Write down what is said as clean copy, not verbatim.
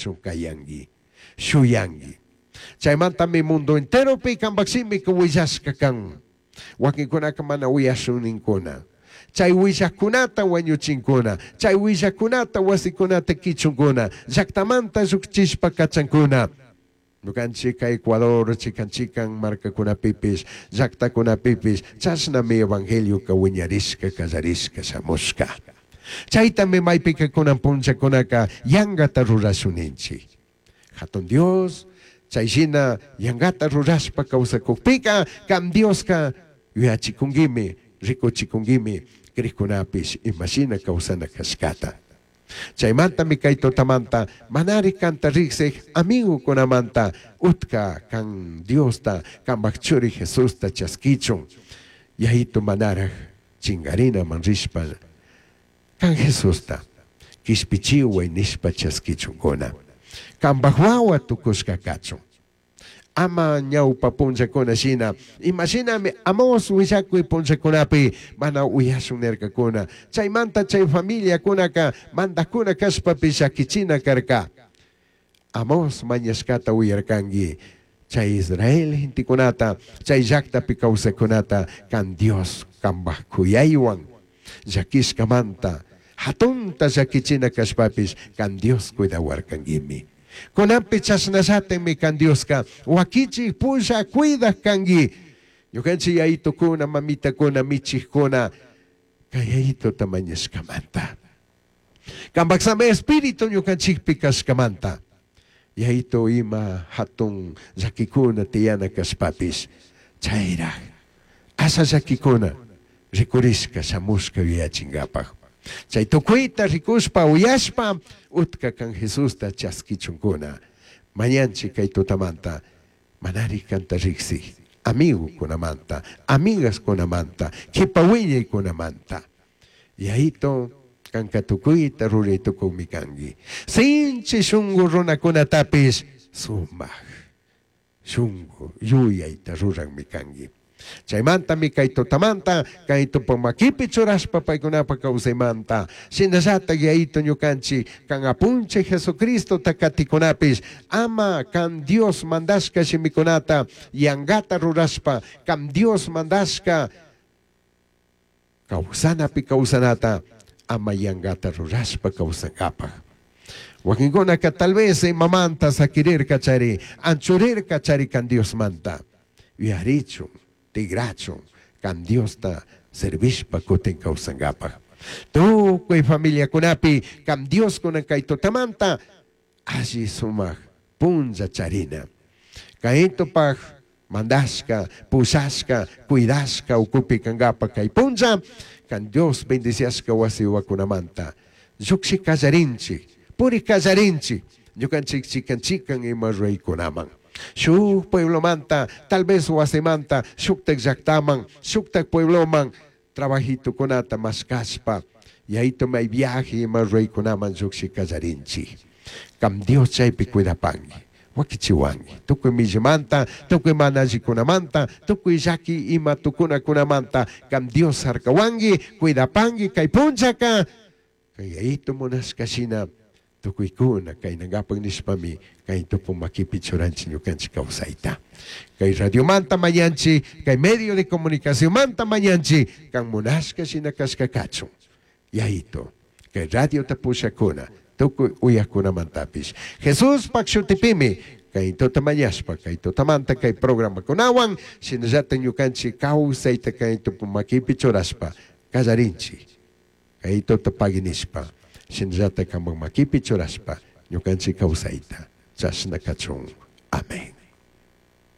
cachun cayangui, shuyangui. Chaymantami mundo enteropi cambaj shimika huillashca can. Wakinkunaka mana uyashun ninkuna. Chay huillajkunata wañuchinkuna, chay huillajkunata wasikunata kichunkuna, llaktamanta llukchishpa kachankuna. Ñukanchik Ecuador chikan chikan markakunapipish, llaktakunapipish, chashnami evangelioka wiñarishka kallarishka shamushka. Chaytami maypika kunan punllakunaka yankata rurashun ninchik. Hatun Dios, chay shina yankata rurashpa kawsakukpika, kan Dioska yuyachikunkimi, rikuchikunkimi, krikunapish imashina kawsana kashkata. Chaymantami kay tutamanta manari kanta riksik amigukunamanta utka kan Diosta, kanpak churi Jesusta chaskichun. Yayitu manaraj chingarinaman rishpa kan Jesusta kishpichiway nishpa chaskichunkuna. Kanpak wawa tukushka kachun. Ama ñawpa punllakuna shina, imashinami Amos willakuy punllakunapi mana uyashun nirkakuna. Chaymanta chay familiakunaka mandakuna kashpapish llakichina karka. Amos mañashkata uyarkanki. Chay Israel gentekunata, chay llaktapi kawsakkunata kan Dios kanpak kuyaywan llakishkamanta hatunta llakichina kashpapish kan Dios cuidawarkankimi. Kunanpi chashnallatikmi kan Dioska wakichik pulla cuidak kanki. Ñukanchik yayitukuna, mamitakuna, michikkuna kay yayituta mañashkamanta. Kanpak sami espíritu ñukanchikpi kashkamanta. Yayitu ima hatun llakikuna tiyana kashpapish chayraj asha llakikuna rikurishka shamushka yuyachinkapak. Chay tukuyta rikushpa uyashpa utka kan Jesusta chaskichunkuna. Mañanchik kay tutamanta manari kanta riksik amigukunamanta, amigaskunamanta, kipa wiñaykunamanta. Yayito kanka tukuyta ruray tukuymi kanki. Sinchi shunku runakunatapish sumak shunku yuyayta ruranmi kanki. Chaymantami kay tutamanta kay tupa makipi churashpa paykunapa kawsaymanta. Shinallatak yayito ñukanchik kan apunchik Jesucristota katikunapish ama kan Dios mandashka shimikunata yankata rurashpa kan Dios mandashka kawsanapi kawsanata ama yankata rurashpa kawsankapak. Wakinkunaka tal vez imamanta sakirirka chari, anchurirka chari kan Diosmanta. Yuyarichun, tigrachun, kan Diosta servishpa kutin kawsankapak. Tukuy familiakunapi kan Dios kunan kay tutamanta alli sumak punlla charina. Kaytupak mandashka, pushashka, cuidashka ukupi kankapak kay punlla, kan Dios bendiciashka wasi wakunamanta. Llukshi kallarinchik, puri kallarinchik, ñukanchik chikan chikan ima ruraykunaman. Shuk pueblomanta, tal vez wasimanta, shuktak llaktaman, shuktak puebloman, trabajitukunata mashkashpa, yayito may viaje ima ruraykunaman llukshi kallarinchik. Kam Dios chaypi cuidapanki, wakichiwanki, tukuy millimanta, tukuy mana allikunamanta, tukuy llaki ima tukunakunamanta, kam Dios harkawanki, cuidapanki, kay punllaka, kay yayito munashka shina, tukuykuna kaynankapak nishpami kay tupu makipi churanchik ñukanchik kawsayta. Kay radiomanta mañanchik, kay medio de comunicacionmanta mañanchik, kan munashka shina kashka kachun. Yayito, kay radiota pushakuna, tukuy uyakunamantapish. Jesús pak shutipimi, kay tuta mañashpa, kay tutamanta kay programakunawan, shinallatak ñukanchik kawsayta kay tupu makipi churashpa, kallarinchik. Kay tuta paginishpa, shinallatak kanpak makipi churashpa, ñukanchik kawsayta, chashna kachun.